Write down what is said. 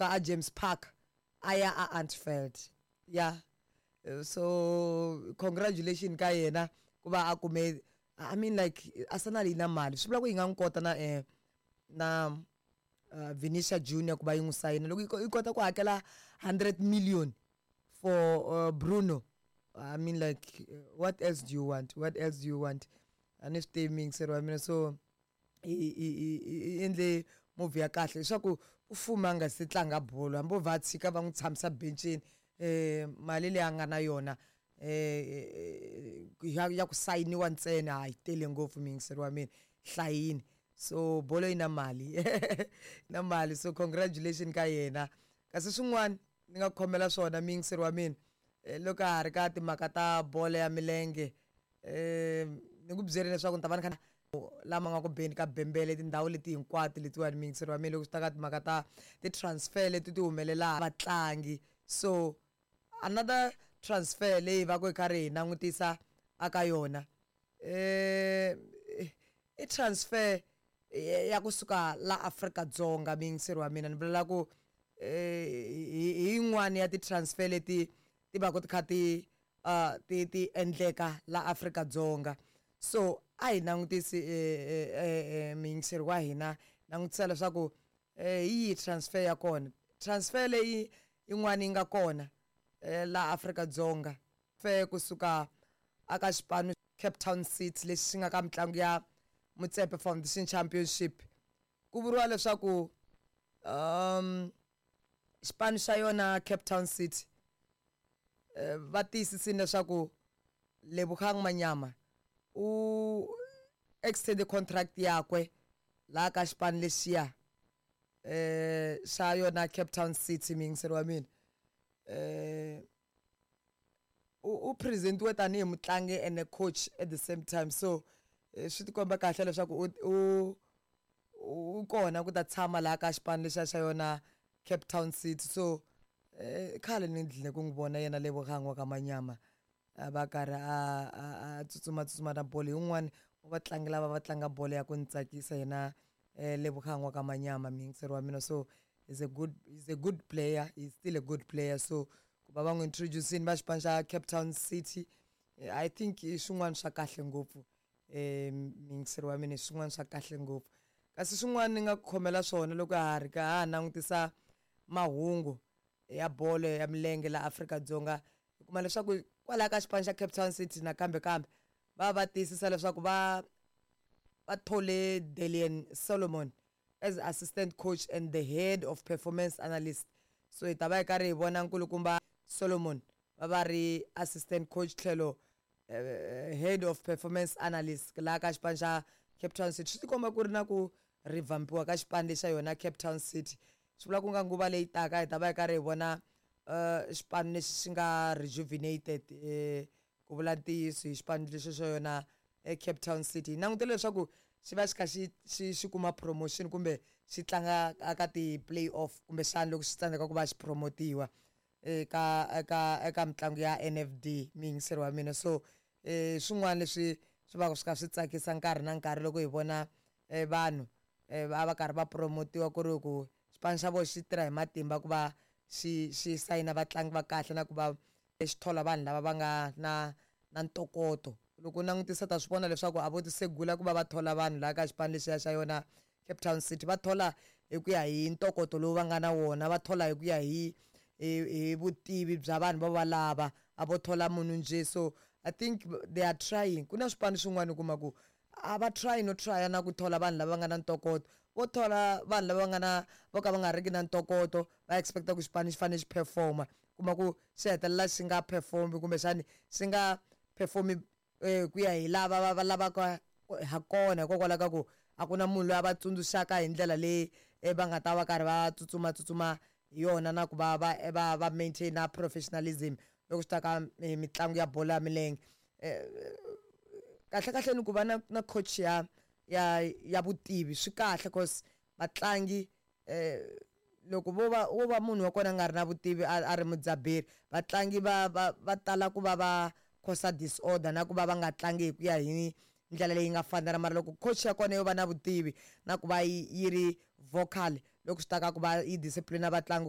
Ka a James Park a ya a Anfield ya. So congratulation ka yena ku va a kume. I mean, like, Arsenal yi na mali, swi vula ku yi nga n'wi kota na na Vinicius Junior ku va yi n'wi sayina loko yi kota ku hakela 100 million for Bruno. I mean, like, what else do you want? What else do you want? A ni swi tivi, muyingiseri wa mina. So i endle move ya kahle leswaku u fuma a nga se tlanga bolo, hambi o vha a tshika va n'wi tshamisa bencini, mali leyi a nga na yona ya ku sayiniwa ntsena a yi tele ngopfu, muyingiseri wa mina, hlayini. So bolo yi na mali, na mali. So congratulation ka yena. Kasi swin'wana ni nga khomela swona, muyingiseri wa mina, loko ha ri ka timhaka ta bolo ya milenge, ni ku byerile leswaku ni ta va ni kha lama nga ku beni ka bembele tindhawu leti hinkwato letiwani, muyingiseri wa mina, loko swi ta ka timhaka ta ti-transfer leti ti humelelaka vatlangi. So another transfer leyi va ku hi karhi hi langutisa aka yona i transfer ya kusuka la Afrika-Dzonga, muyingiseri wa mina. Ni vulela ku hi yin'wani ya ti-transfer leti ti va ku ti kha ti ti endleka la Afrika-Dzonga. So a hi langutisi, muyingiseri wa hina, langutisa leswaku hi yihi transfer ya kona, transfer leyi yin'wana yi nga kona la Afrika-Dzonga fe kusuka aka xipano Cape Town City lexi xi nga ka mitlangu ya Motsepe Foundation Championship. Ku vuriwa leswaku xipano xa yona Cape Town City va tiyisisile leswaku Lebogang Manyama u extend contract yakwe laha ka xipano lexiya xa yona Cape Town City. Muyingiseri wa mina, u presentiwe tanihi mutlangi and a coach at the same time. So swi tikomba kahle leswaku u kona ku ta tshama laha ka xipano lexiya xa yona Cape Town City. So khale ni dlile ku n'wi vona yena Lebogang wa ka Manyama a va karhi a tsutsuma tsutsuma na bolo. Hi wa vatlangi lava va tlanga bolo ya ku ni tsakisa yena Lebogang wa ka Manyama, muyingiseri wa mina. So he's a good player, he's still a good player. So ku va va n'wi introducini va xipano xa Cape Town City, I think i swin'wana swa kahle ngopfu, muyingiseri wa mina, swin'wana swa kahle ngopfu. Kasi swin'wana ni nga ku khomela swona loko ha ri ka ha langutisa mahungu ya bolo ya milenge la Afrika-Dzonga, hi kuma leswaku kwalaya ka xipano xa Cape Town City nakambe kambe va tiyisisa leswaku va thole Dalian Solomon as assistant coach and the head of performance analyst. So hi ta va hi karhi hi vona nkulukumba Solomon va ri assistant coach tlhelo head of performance analyst laha ka xipano xa Cape Town City. Swi tikomba ku ri na ku revampiwa ka xipano lexa yona Cape Town City. Swi vula ku nga nguva leyi taka hi ta va hi karhi hi vona xipano lexi xi nga rejuvenated, ku vula ntiyiso, hi xipano lexi xa yona Cape Town City. Hi langutele leswaku xi va xi kha xi kuma promotion kumbe xi tlanga aka ti-play off, kumbexana loko xi tsandzeka ku va xi promotiwa eka mitlangu ya NFD, muyingiseri wa mina. So swin'wana leswi swi va swi kha swi tsakisa nkarhi na nkarhi loko hi vona vanhu va karhi va promotiwa, ku ri ku xipano xa vona xi tirha hi matimba ku va xi sayina vatlangi va kahle na ku va xi thola vanhu lava va nga na ntokoto. Loko u langutisa ta swi vona leswaku a vo ti segula ku va va thola vanhu laha ka xipano lexiya xa yona Cape Town City. Va thola hi ku ya hi ntokoto lowu va nga na wona, va thola hi ku ya hi vutivi bya vanhu va lava, a vo thola munhu njhe. So I think they are trying. Ku na swipano swin'wana u kuma ku a va try no try na ku thola vanhu lava nga na ntokoto, vo thola vanhu lava nga na vo ka va nga riki na ntokoto, va expecta ku xipano xi fanele xi performa, kuma ku xi hetelela xi nga perform, kumbexani xi nga performi ku ya hi lava va lavaka ha kona, hikokwalaho ka ku a ku na munhu loyi a va tsundzuxaka hi ndlela leyi va nga ta va karhi va tsutsuma tsutsuma hi yona na ku va maintain professionalism loko swi ta ka mitlangu ya bolo ya milenge. Kahle kahle ni ku va na coach ya vutivi swi kahle, cause vatlangi loko vo va munhu wa kona a nga ri na vutivi, a ri mudzaberi, vatlangi va tala ku va va cause disorder na ku va va nga tlangi hi ku ya hi ndlela leyi nga fanela. Mara loko coach ya kona yo va na vutivi na ku va yi ri vocal loko swi ta ka ku va yi discipline vatlangi.